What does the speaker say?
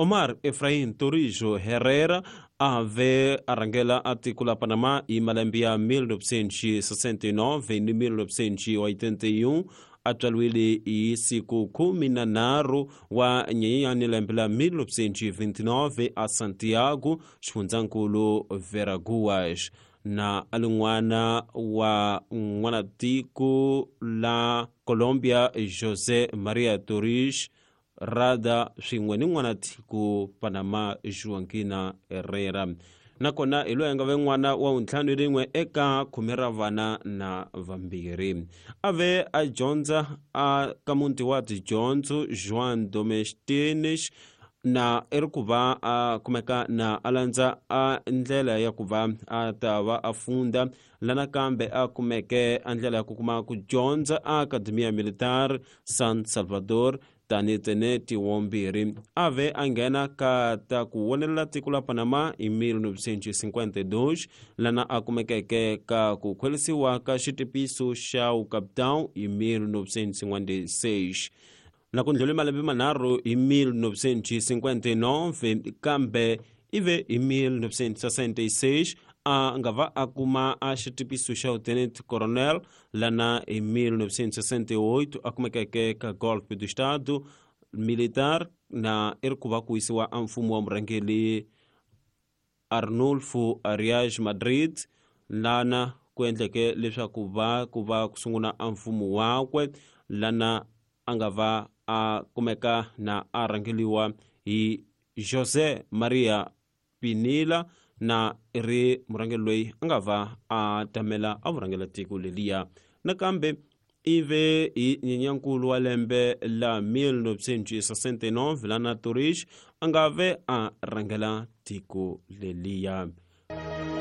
Omar Efraín Torrijos Herrera a ve a rhangela a tiko la Panama hi malembe ya 1969 ni 1981. A tswariwile hi siku 13 wa Nyenyenyani lembe la 1929 a Santiago, xifundzankulu Veraguas, na a li n'wana wa n'wanatiko la Colombia José María Torrijos Rada swin'we ni n'wanatiko Panama Joaquina Herrera. Nakona hi loyi a nga ve n'wana wa vuntlhanu rin'we eka khume ra vana na vambirhi. A ve a dyondza a ka muti wa tidyondzo Juan Domestinish, na i ri ku va a kumeka na a landza a ndlela ya ku va a ta va a funda la, nakambe a kumeke a ndlela ya ku kuma ku dyondza a Academia Militar San Salvador tani teneti wombirhi. A ve a nghena ka ta ku wonelela tiko la Panama hi 1952, lana a kumekeke ka ku khwerisiwa ka xitipiso xa vukapitão hi 1956, na ku ndlhule malembe manharhu hi 1959. Kambe ive hi 1966 a nga va a kuma a xitipiso xa lieutenant coronel, lana hi 1968 a kumekeke ka golpe do estado militar, na i ri ku va ku yisiwa a mfumo wa murhangeri Arnulfo Arias Madrid, lana ku endleke leswaku va ku va ku sungula a mfumo wakwe, lana a nga va a kumeka na a rhangeliwa hi José María Pinilla, na ri murhangeri loyi a nga va a tamela a vurhangela tiko leliya. Nakambe ive hi Nyenyankulu wa lembe la 1969 lana Torrijos a nga ve a rhangela tiko leliya.